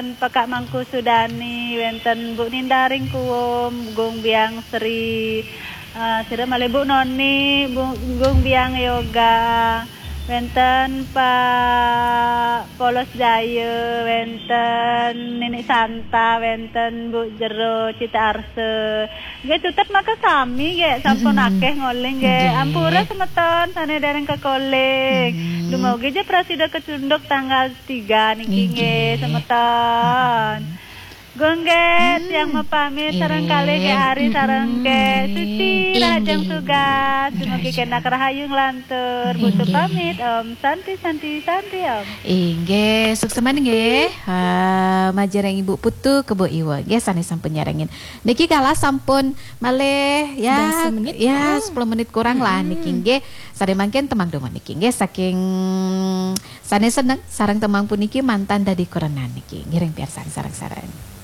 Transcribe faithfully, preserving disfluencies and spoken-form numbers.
Pekak Mangku Sudani, wénten Bu Nindaring Kuum, Gung Biang Sri, eh, sira malih Bu Noni, Bu, Gung Biang Yoga, wénten Pak Polos Jaya, wénten Nini Santa, wénten Bu Jero Cita Arsa. Nggih, tutup maka sami nggih, sampun akeh ngoling nggih. Nggih. Ampura semeton sané dereng kekoling. Dumugi ja prasida kecunduk tanggal tiga niki nggih, semeton. Gung nggih, tiang mapamit sareng kalih nggih Ari sareng nggih Suci, rahajeng tugas. Dumugi kenak rahayu nglantur. Putu pamit, Om Santi, Santi, Santi, Om. Inggih, suksma nggih. Ha, majeng Ibu Putu, Kebo Iwa nggih sané sampun nyarengin. Niki kala sampun malih ya, dasa menit. Ya, sepuluh menit kurang lah niki nggih. Sané mangkin tembang dumun niki nggih saking sané seneng sareng tembang puniki mantan dadi kurenan niki. Ngiring piarsan sareng-sareng.